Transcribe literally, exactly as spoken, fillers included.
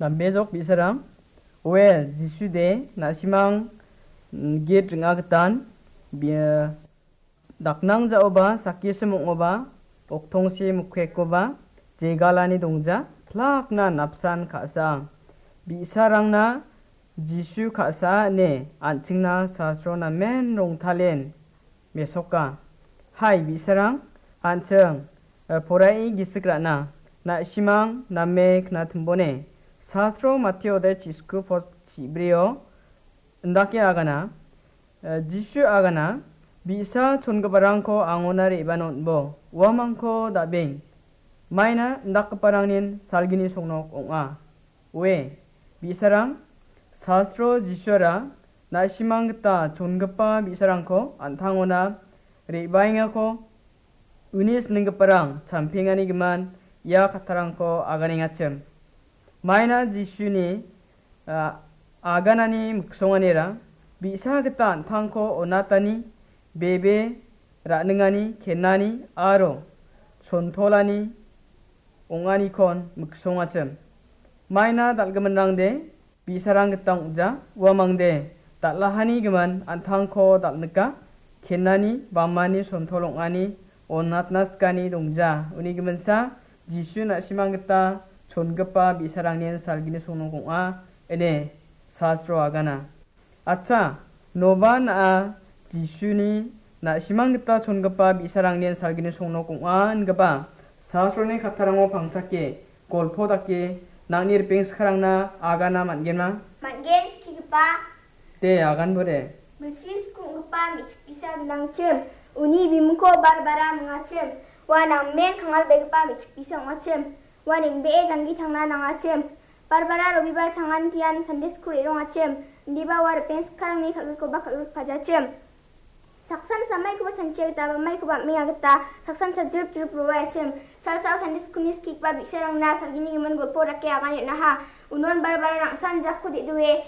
Ambejok bi·sarang, oe, Jisude, na·simang, mm, git ring·agitan, bia, daknang ja·oba, sakisem ong·oba, oktongsi mokkekoba, jegalani dongja, plakna napsan ka·sa. Bi·sarangna Jisu ka·sa ine an·chingna sasro namen rongtalen mesoka. Hai, bi·sarang, an·ching, eh, porai gisik ra·na, na·simang name knatimbone. Sasro Matio de chisku pot chibrio, indake agana, eh, Jisu agana, bi·sa chongiparangko angona re·bana on·bo, uamangko da·beng. Maina indakgiparangnin salgini songnok ong·a. Oe, bi·sarang, sasro Jisuara na·simang gita chongipa bi·sarangko an·tangona re·baengako uni sininggiparang champengani gimin ia kattarangko aganengachim. Maina Jisuni, ah, aganani miksonganira bi·sa gita an·tangko on·atani, bebe ra·ningani, kenani aro sontolani ong·anikon miksongachim. Maina dal·giminrangde bi·sarang gita ong·ja, uamangde dal·ahani gimin an·tangko dal·nika, kenani, bamani, sontol ong·ani, on·atna sikani dongja. Uni giminsa Jisu na·simang gita chongipa bi·sarangnin salgini songnok ong·a, ine sasro agana. Acha, noba na·a Jisuni na·simang gita chongipa bi·sarangnin salgini songnok ong·a ingipa sasroni kattarango pangchake, golpo dake, nangni ripeng sikarangna agana man·genma? Man·gen, skigipa. De, aganbo de. Bilsi skonggipa me·chik bisa gnangchim, uni bimingko Barbara mingachim, ua namen kangalbegipa me·chik bisa ong·achim, ua neng·bee janggi tangna nangachim. Barbara Robibar changan tian Sunday School re·rongachim, indiba ua ripeng sikarangni kal·grikoba kal·grikpajachim. Saksan samaikoba chanchia gita, bamaikoba am·enga gita, saksan chadrip drip roaiachim. Salsao Sunday School-ni skikba bi·sarangna salgini gimin golpo dake agan on·aha. Unon Barbara rangsan jakko de·doe,